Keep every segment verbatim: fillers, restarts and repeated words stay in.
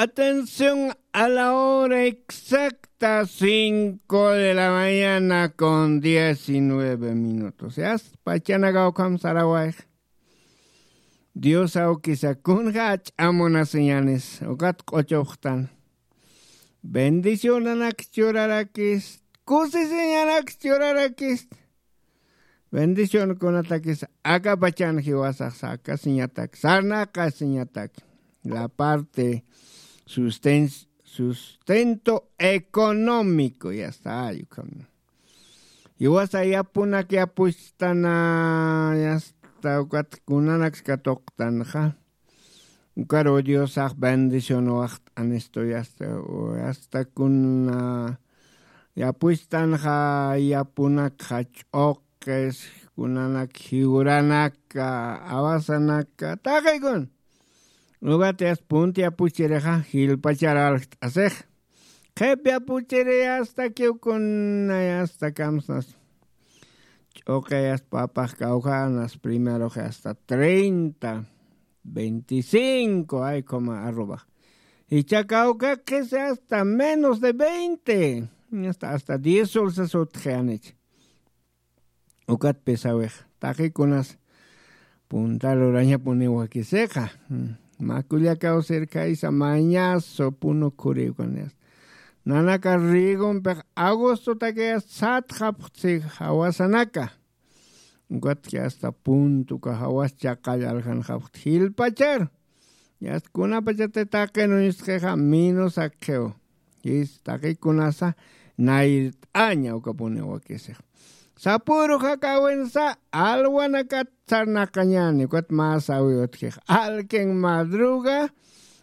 Atención a la hora exacta, cinco de la mañana con diecinueve minutos. Yasta pachanaka ukham sarawayx. Dios awkisa kunja ach'amunasiñanis ukat q'uchupxtan. Bendicionanak churarakist, kusisiñanak churarakist. Bendicionkunatakis akapachan jiwasax sakasiñatak, sarnaqasiñatak. La parte susten- sustento económico, yasta, ay ukham. Jiwasa yapunak yapuchtana, yasta, ukat kunanaksa katuqtanxa. Ukaru Diosax bendición waxt'anistu, yasta, yasta kuna yapuchtanxa, yapunakxa ch'uqis, kunanak jiwranaka, awasanaka, taqikun. Ukat yasta punta yapuchirixa, jilpachar aljt'asix. Qhip yapuchiri yasta kiwkuna, yasta kamsnas. Ch'uqi yasta papax kawkhanas, primerox yasta treinta, veinticinco, ay, como arroba. Jichha kawkakis hasta menos de veinte, hasta, hasta diez dulces utjianich. Ukat pisawix, taqikunas punta lurañapuniw wakisixa. Mm, mä kullakaw sirkhaysa mañaso punukhuriw kaniyas. Nanaka Riegompix agostotakiyas satxapxtsi jawasanaka. Ukatki hasta punto uka jawas chaqall aljanxapxta jilpachar. Yasta kunapachati taqin uñustxixa minus akxiw. Jis taqikunasa nayrt'aña ukapuni wakisix. Sapüru jakawinsa alwanakat sarnaqañani, ukat mä sawi utjix. Alkin madruga,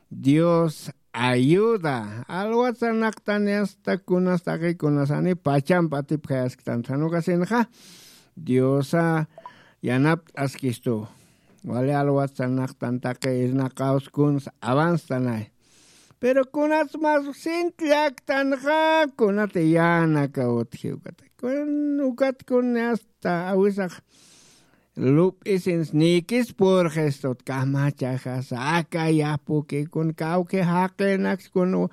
Dios ayuda. Alwat sarnaqtan yasta kunas taqikunasani pachamp atipjayasktan. Jan ukasinxa Diosa yanapt'askistu. Wali alwat sarnaqtan taqi irnaqaws kuns avanstanay. Pero kunats mas sint llaktanxa, kunati yanaka utji ukata. Kun ukat kun hasta awisax lup'isins nikis purxistut kamachaxasa, aka yapuki kun kawki jaqinaks kun u-,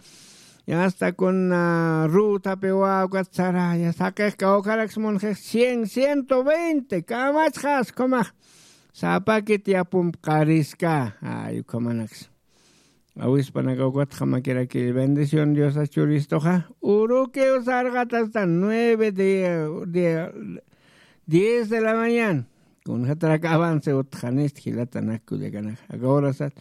yasta kun, ah, rutapi wawkat saraya, saqix kawkaraks munxix cien, ciento veinte, kamachxas kumax sapakit yapump qariska, ay, ukhamanaks. Awispanaka ukatxa makiraki bendición Diosa churistuxa. Urukiw sarqat hasta nueve de, de, diez de la mañana. Kunxatarak avance utxanist jilatanak kullakanaka. Aka horasat.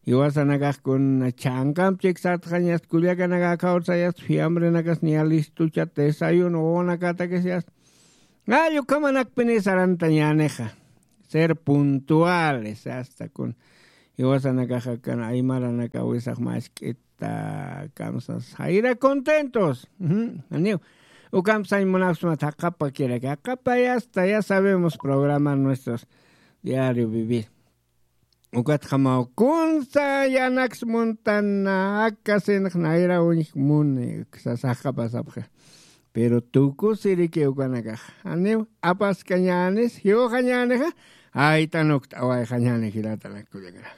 Jiwasanakax kun chhankamp chiksatxañast kullakanaka aka horasayast fiambrenakas niya listuchat desayuno wawanakatakisiyast. Ay, ukhamanakpini sarantañänixa. Ser puntuales, hasta kun jiwasanakaxa kan aymaranaka wisax mask'ita kamsas jayra contentos. Ujú, aniw. Ukamp sañ munapsmat jaqapa kiraki. Jaqapa ya está, ya sabemos programar nuestros diario vivir. Ukatxamaw kunsa yanaks muntan akasinx nayra uñj muni, sasa jaqapa sapxi. Pero tukusiriki ukanakax. Janiw apaskañänis, jiwxañänixa, aytanukt awayxañäni jilatanak kullakara.